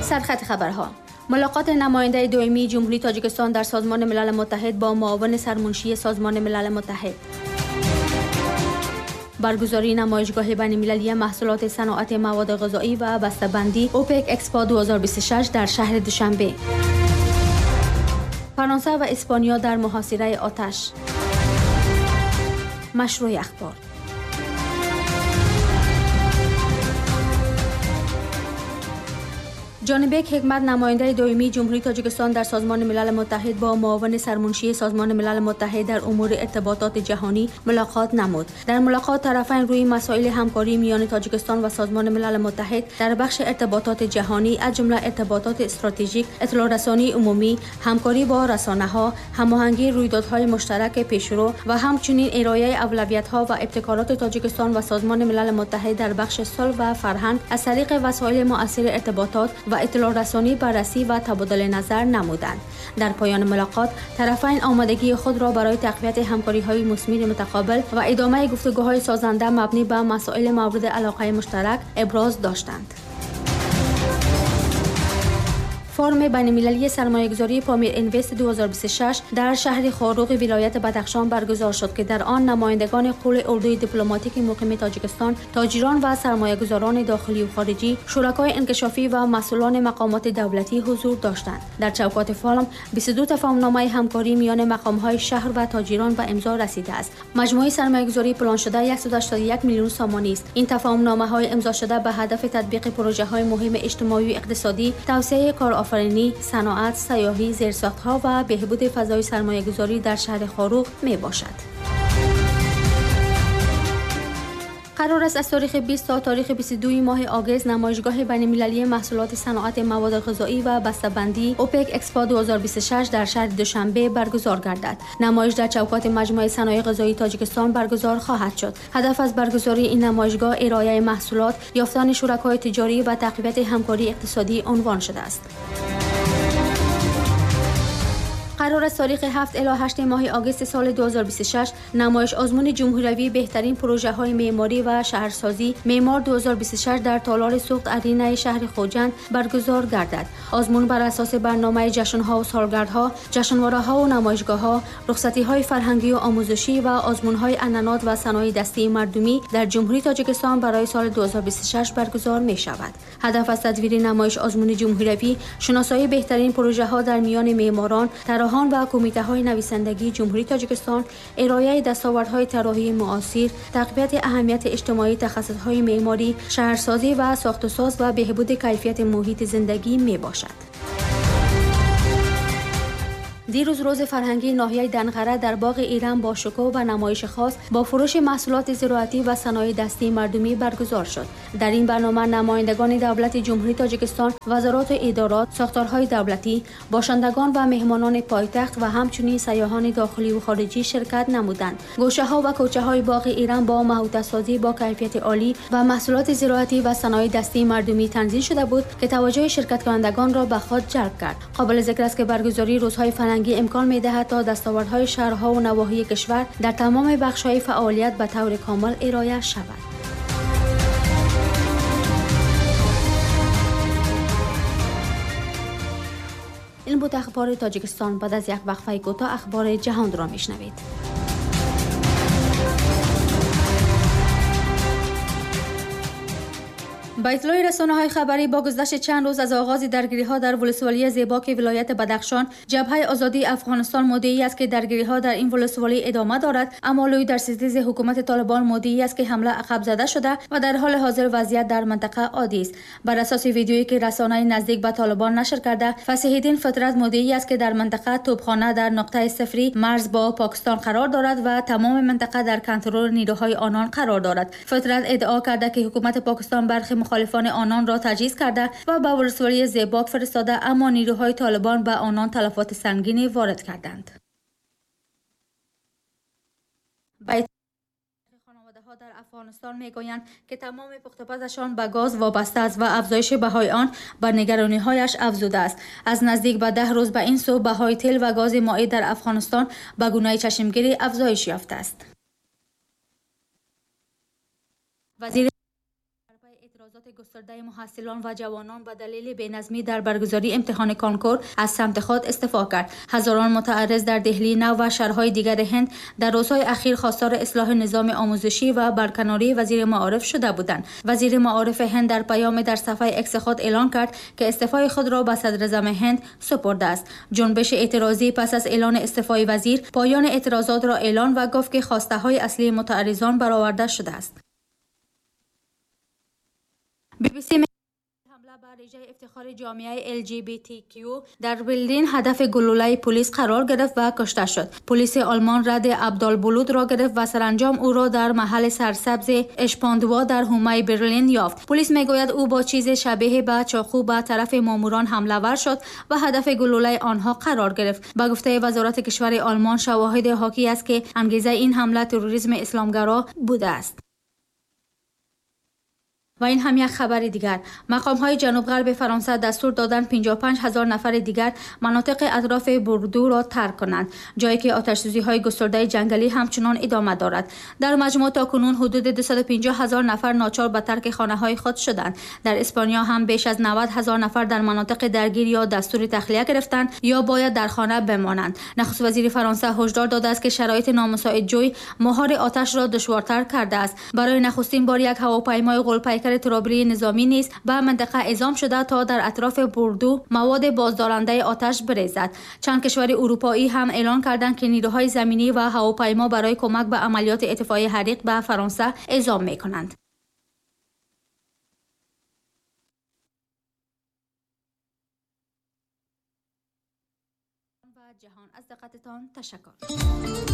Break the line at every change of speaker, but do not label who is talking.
سرخط خبرها: ملاقات نماینده دائمی جمهوری تاجیکستان در سازمان ملل متحد با معاون سرمنشی سازمان ملل متحد. برگزاری نمایشگاه بین‌المللی محصولات صنعت مواد غذایی و بسته‌بندی اوپک اکسپو 2026 در شهر دوشنبه. فرانسه و اسپانیا در محاصره آتش. مشروع اخبار. جانبک حکمت نماینده دائمی جمهوری تاجیکستان در سازمان ملل متحد با معاون سرمنشی سازمان ملل متحد در امور ارتباطات جهانی ملاقات نمود. در ملاقات طرفین روی مسائل همکاری میان تاجیکستان و سازمان ملل متحد در بخش ارتباطات جهانی از جمله ارتباطات استراتژیک، اطلاع رسانی عمومی، همکاری با رسانه‌ها، هماهنگی رویدادهای مشترک پیشرو و همچنین ارائه اولویت‌ها و ابتکارات تاجیکستان و سازمان ملل متحد در بخش صلح و فرهنگ از طریق وسایل مؤثر ارتباطات و اطلاع رسانی بررسی و تبادل نظر نمودند. در پایان ملاقات طرفین آمادگی خود را برای تقویت همکاری‌های مثمر متقابل و ادامه گفتگوهای سازنده مبنی بر مسائل مورد علاقه مشترک ابراز داشتند. فورم بین‌المللی سرمایه‌گذاری پامیر اینوست 2026 در شهر خاروغ ولایت بدخشان برگزار شد که در آن نمایندگان قول اردوی دیپلماتیک مقیم تاجیکستان، تاجران و سرمایه‌گذاران داخلی و خارجی، شرکای انکشافی و مسئولان مقامات دولتی حضور داشتند. در چوکات فورم 22 تفاهم‌نامه همکاری میان مقام‌های شهر و تاجران به امضا رسیده است. مجموعه سرمایه‌گذاری پلان شده 181 میلیون سامانی است. این تفاهم‌نامه‌های امضا شده به هدف تطبیق پروژه‌های مهم اجتماعی و اقتصادی، توسعه کارآفرینی، صنعت، سیاحی، زیرساخت‌ها و بهبود فضای سرمایه‌گذاری در شهر خاروغ می‌باشد. قرار است از تاریخ 20 تا تاریخ 22 ماه آگوست نمایشگاه بین‌المللی محصولات صنعت مواد غذایی و بسته‌بندی اوپک اکسپو 2026 در شهر دوشنبه برگزار گردد. نمایش در چوکات مجموعه صنایع غذایی تاجیکستان برگزار خواهد شد. هدف از برگزاری این نمایشگاه ارائه محصولات، یافتن شرکای تجاری و تقویت همکاری اقتصادی عنوان شده است. قرار است تاریخ 7 الی 8 ماه آگوست سال 2026 نمایش آزمون جمهوری بهترین پروژه های معماری و شهرسازی معمار 2026 در تالار سوخت ارینه شهر خوجند برگزار گردد. آزمون بر اساس برنامه جشن‌ها و سالگردها، جشنواره‌ها و نمایشگاه‌ها، رخصتی‌های فرهنگی و آموزشی و آزمون‌های عنعنات و صنایع دستی مردمی در جمهوری تاجیکستان برای سال 2026 برگزار می‌شود. هدف از تدویر نمایش آزمون جمهوری شناسایی بهترین پروژه‌ها در میان معماران، طراحان و کمیته‌های نویسندگی جمهوری تاجیکستان، ارائه دستاوردهای طراحی معاصر، تقویت اهمیت اجتماعی تخصص‌های معماری، شهرسازی و ساخت و ساز و بهبود کیفیت محیط زندگی میباشد. دیروز روز فرهنگی ناحیه دنقره در باغ ایران با شکوه و نمایش خاص با فروش محصولات زراعتی و صنایع دستی مردمی برگزار شد. در این برنامه نمایندگان دولت جمهوری تاجیکستان، وزارات و ادارات، ساختارهای دولتی، باشندگان و مهمانان پایتخت و همچنین سیاحان داخلی و خارجی شرکت نمودند. گوشه‌ها و کوچه‌های باغ ایران با محوطه‌سازی با کیفیت عالی و محصولات زراعتی و صنایع دستی مردمی تنظیم شده بود که توجه شرکت کنندگان را به خود جلب کرد. قابل ذکر است که برگزاری روزهای فرهنگی امکان می‌دهد تا دستاوردهای شهرها و نواحی کشور در تمام بخش‌های فعالیت به طور کامل ارائه شود. این بود اخبار تاجیکستان. بعد از یک وقفه کوتاه اخبار جهان را می‌شنوید. با اطلاع رسانه‌های خبری با گذشت چند روز از آغاز درگیری‌ها در ولسوالی زیباک ولایت بدخشان، جبهه آزادی افغانستان مدعی است که درگیری‌ها در این ولسوالی ادامه دارد، اما لوی در ستیز حکومت طالبان مدعی است که حمله عقب زده شده و در حال حاضر وضعیت در منطقه عادی است. بر اساس ویدیویی که رسانه نزدیک به طالبان نشر کرده، فصیح‌الدین فطرت مدعی است که در منطقه توپخانه در نقطه صفری مرز با پاکستان قرار دارد و تمام منطقه در کنترل نیروهای آنان قرار دارد. فطرت ادعا کرده که حکومت پاکستان برخی مخالفان آنان را تجهیز کرده و به ولسوالی زیباک فرستاده، اما نیروهای طالبان به آنان تلفات سنگینی وارد کردند. خانواده‌ها در افغانستان میگویند که تمام پخت‌وپزشان به گاز وابسته است و افزایش بهای آن بر نگرانی‌هایش افزوده است. از نزدیک به 10 روز به این سو بهای تیل و گاز مایع در افغانستان به گونه چشمگیری افزایش یافته است. وزیر اعتراضات گسترده محصلان و جوانان به دلیل بی‌نظمی در برگزاری امتحان کنکور از سمت خود استعفا کرد. هزاران متعرض در دهلی نو و شهرهای دیگر هند در روزهای اخیر خواستار اصلاح نظام آموزشی و برکناری وزیر معارف شده بودند. وزیر معارف هند در پیام در صفحه اکس خود اعلان کرد که استعفای خود را به صدراعظم هند سپرده است. جنبش اعتراضی پس از اعلان استعفای وزیر پایان اعتراضات را اعلان و گفت که خواسته های اصلی متعرضان برآورده شده است. بی بی سی حمله بر رژه افتخار جامعه LGBTQ در برلین هدف گلوله پلیس قرار گرفت و کشته شد. پلیس آلمان رد عبدالبلود را گرفت و سرانجام او را در محل سرسبز اشپاندوا در حومه برلین یافت. پلیس میگوید او با چیز شبیه به چاقو به طرف ماموران حمله ور شد و هدف گلوله آنها قرار گرفت. به گفته وزارت کشور آلمان شواهد حاکی است که انگیزه این حمله تروریسم اسلامگرا بوده است. و این هم یک خبر دیگر. مقام های جنوب غرب فرانسه دستور دادند 55,000 نفر دیگر مناطق اطراف بوردو را ترک کنند، جایی که آتش سوزی های گسترده جنگلی همچنان ادامه دارد. در مجموع تا کنون حدود 250,000 نفر ناچار به ترک خانه های خود شدند. در اسپانیا هم بیش از 90,000 نفر در مناطق درگیر یا دستور تخلیه گرفتند یا باید در خانه بمانند. نخست وزیر فرانسه هشدار داده است که شرایط نامساعد جوی مهار آتش را دشوارتر کرده است. برای نخستین بار یک هواپیمای غول‌پیکر ترابری نظامی نیز به منطقه اعزام شده تا در اطراف بوردو مواد بازدارنده آتش بریزد. چند کشور اروپایی هم اعلان کردند که نیروهای زمینی و هواپیما برای کمک به عملیات اطفای حریق به فرانسه اعزام می‌کنند. و جهان از دقتتان تشکر.